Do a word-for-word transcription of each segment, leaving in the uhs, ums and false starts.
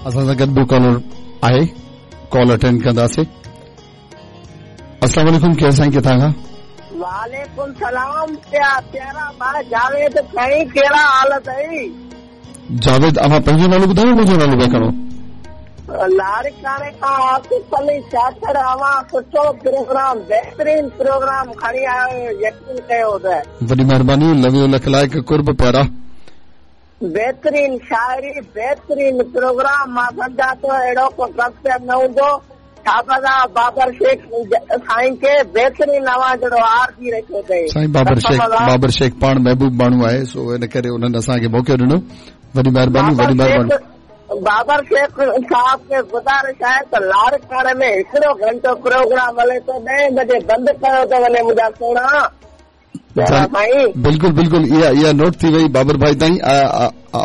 असां सां गॾु ॿियो कॉलर आहे, कॉल अटेंड कंदासीं। अस्सलाम वालेकुम, केरु साईं, किथां खां? वालेकुम सलाम। प्यारा भाउ जावेद साईं, कहिड़ा हाल अथई? जावेद, अव्हां पंहिंजो नालो ॿुधायो, मुंहिंजो नालो पिया खणो? लाड़काणे खां आसिफ अली चाचड़। अव्हां सुठो प्रोग्राम, बहितरीन प्रोग्राम खणी आया आहियो, यकीन कयो त वॾी महिरबानी, लव you, लख लाइक़, कुर्ब प्यारा। बहितरीन शाइरी, बहितरीन प्रोग्राम। मां सम्झां थो अहिड़ो को कल्चर न हूंदो। बाबर शेख साईं खे बहितरीन अव्हां जहिड़ो आरजी रखियो अथई। साईं बाबर शेख, बाबर शेख पाण महबूब माण्हू आहे, सो इन करे उन्हनि असांखे मौक़ो ॾिनो। वॾी महिरबानी, वॾी महिरबानी। बाबर शेख साहब खे गुज़ारिश आहे त लाड़काणे में हिकिड़ो घंटो प्रोग्राम हले थो, ॾहें बजे बंदि कयो थो वञे मुंहिंजा सोणा। बिल्कुलु बिल्कुलु, इहा इहा नोट थी वई बाबर भाई ताईं।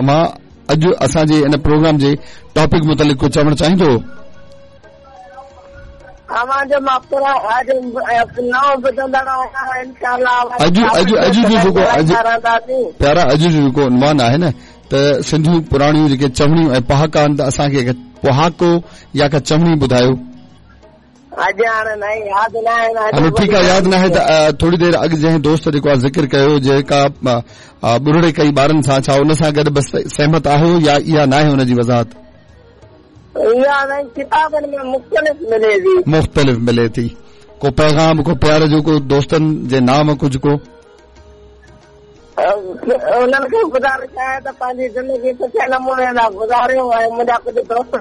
मां अॼु असांजे इन प्रोग्राम जे टॉपिक मुतालिक़ कुझु चवणु चाहींदो? अव्हांजो मां नओं ॿुधंदड़ आहियां, इंशाअल्लाह। अॼु अॼु अॼु जो जेको अॼु प्यारा, अॼु जो जेको उन्वान आहे न, त सिंधियूं पुराणियूं जेके चवणियूं ऐं पहाका आहिनि, त असांखे पहाको या का चवणी ॿुधायो। हलो ठीकु आहे, यादि न आहे त थोरी देरि अॻु जंहिं दोस्त जेको आहे ज़िक्र कयो, जेका ॿुरड़े कई ॿारनि सां, छा उन सां गॾु बसि सहमत आहियो या इहा न आहे हुनजी वज़ाहत? इहा किताबनि में मुख़्तलिफ़ मिले थी, मुख़्तलिफ़ मिले थी। को पैगाम, को प्यार जो, को दोस्तनि जे नाम, कुझु को उन्हनि खे गुज़ारिश आहे त पंहिंजी ज़िंदगी सुठे नमूने सां गुज़ारियो। ऐं मुंहिंजा कुझु दोस्त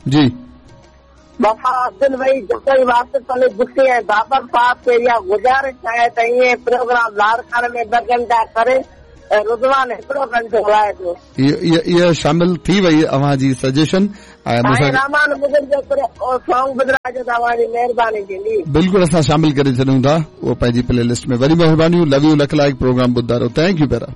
जी वफ़ा अब्दुल भाई जतई वासिफ अली बुट्टी ऐं बाबर साहब खे इहा गुज़ारिश आहे त ईअं प्रोग्राम लाड़काणे में ॿ घंटा करे ऐं रुदवान हिकिड़ो घंटो हलाए पियो। इहा शामिल थी वई अव्हां जी सजेशन। ऐं रहमान मुग़ल जो सॉन्ग ॿुधाइजो त अव्हांजी महिरबानी थींदी। बिल्कुलु असां शामिल करे छॾूं था उहो पंहिंजी प्ले लिस्ट में। वॾी महिरबानी, लव you, लख लाइक़, प्रोग्राम ॿुधारो। Thank you प्यारा।